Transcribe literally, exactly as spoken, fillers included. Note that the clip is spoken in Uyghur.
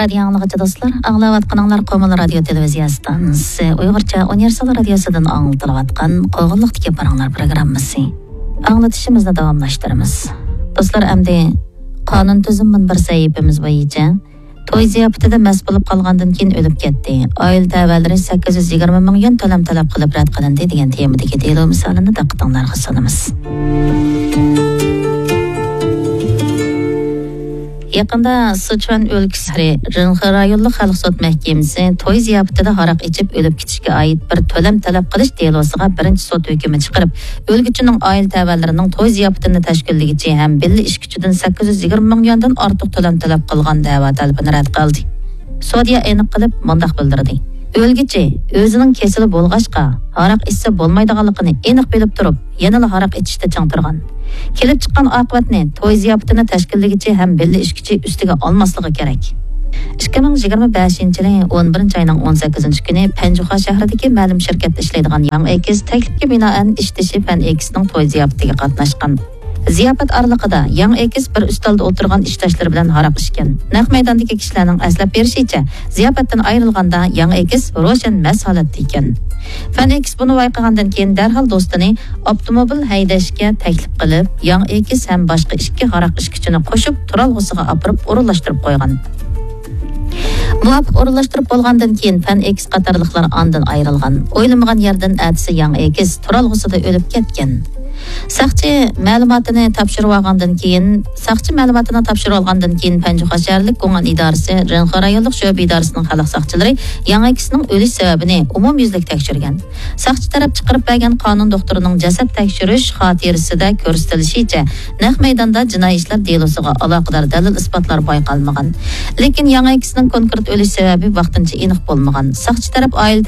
رادىيو ئاڭلىغۇچى دوستلار، ئاڭلاۋاتقىنىڭلار قومۇل رادىيو تېلېۋىزىيە ئىستانسىسى ئۇيغۇرچە ئۇنىۋېرسال رادىيوسىدىن ئاڭلىتىلىۋاتقان قوغۇنلۇقتىكى پاراڭلار پروگراممىسى. ئاڭلىتىشىمىزنى داۋاملاشتۇرىمىز. دوستلار، ئەمدى قانۇن تۈزۈم مۇنبەر سەھىپىمىز بويىچە توي زىياپىتىدە مەست بولۇپ قالغاندىن كېيىن ئۆلۈپ كەتتى. ئائىلە تەۋەلىرى سەككىز يۈز يىگىرمە مىڭ يۈەن تۆلەم تەلەپ قىلىپ رەت قىلىندى دېگەن تېمىدىكى دېلو مىسالىنى دىققىتىڭلارغا سۇنىمىز. يېقىندا سىچۈەن ئۆلكىسى رىنخې رايونلۇق خەلق سوت مەھكىمىسى توي زىياپىتىدە ھاراق ئىچىپ ئۆلۈپ كېتىشكە ئائىت بىر تۆلەم تەلەپ قىلىش دېلوسىغا بىرىنچى سوت ھۆكمى چىقىرىپ، ئۆلگۈچىنىڭ ئائىلە تەۋەلىرىنىڭ توي زىياپىتىنى تەشكىللىگۈچى ھەم بىللە ئىچكۈچىدىن سەككىز يۈز يىگىرمە مىڭ يۈەندىن ئارتۇق تۆلەم تەلەپ قىلغان دەۋا تەلىپىنى رەت قىلدى. سوديا ئېنىق قىلىپ مۇنداق بىلدۈردى: ئۆلگۈچى ئۆزىنىڭ كېسىلى بولغاچقا، ھاراق ئىچسە بولمايدىغانلىقىنى ئېنىق بىلىپ تۇرۇپ، يەنىلا ھاراق ئىچىشتە چىڭ تۇرغان. كېلىپ چىققان ئاقىۋەتنى توي زىياپىتىنى تەشكىللىگۈچى ھەم بىللە ئىچكۈچى ئۈستىگە ئالماسلىقى كېرەك. ئىككى مىڭ يىگىرمە بەشىنچى يىلى ئون بىرىنچى ئاينىڭ ئون سەككىزىنچى كۈنى پەنجۇخا شەھىرىدىكى مەلۇم شىركەتتە ئىشلەيدىغان ياڭ ئېكىس تەكلىپكە بىنائەن ئىشدىشى پەن ئېكىسنىڭ توي زىياپىتىگە قاتناشقان. زىياپەت ئارىلىقىدا ياڭ ئېكىس بىر ئۈستەلدە ئولتۇرغان ئىشداشلىرى بىلەن ھاراق ئىچكەن. نەق مەيداندىكى كىشىلەرنىڭ ئەسلەپ بېرىشىچە، زىياپەتتىن ئايرىلغاندا ياڭ ئېكىس روشەن مەست ھالەتتە ئىكەن. فەن ئېكىس بۇنى بايقىغاندىن كېيىن دەرھال دوستىنى ئاپتوموبىل ھەيدەشكە تەكلىپ قىلىپ، ياڭ ئېكىس ھەم باشقا ئىككى ھاراق ئىچكۈچىنى قوشۇپ، تۇرالغۇسىغا ئاپىرىپ ئورۇنلاشتۇرۇپ قويغان. مۇۋاپىق ئورۇنلاشتۇرۇپ بولغاندىن كېيىن، فەن ئېكىس قاتارلىقلار ئاندىن ئايرىلغان. ئويلىمىغان يەردىن ئەتىسى ياڭ ئېكىس تۇرالغۇسىدا ئۆلۈپ كەتكەن. ساقچى مەلۇماتىنى تاپشۇرۇۋالغاندىن كېيىن، ساقچى مەلۇماتىنى تاپشۇرۇۋالغاندىن كېيىن، پەنجۇخا شەھەرلىك گۇڭئەن ئىدارىسى، رىنخې رايونلۇق شۆبە ئىدارىسىنىڭ خەلق ساقچىلىرى ياڭ ئېكىسنىڭ ئۆلۈش سەۋەبىنى ئومۇميۈزلۈك تەكشۈرگەن. ساقچى تەرەپ چىقىرىپ بەرگەن قانۇن دوختۇرىنىڭ جەسەت تەكشۈرۈش خاتىرىسىدە كۆرسىتىلىشىچە، نەق مەيداندا جىنايى ئىشلار دېلوسىغا ئالاقىدار دەلىل-ئىسپاتلار بايقالمىغان. لېكىن ياڭ ئېكىسنىڭ كونكرېت ئۆلۈش سەۋەبى ۋاقتىنچە ئېنىق بولمىغان. ساقچى تەرەپ ئائىلە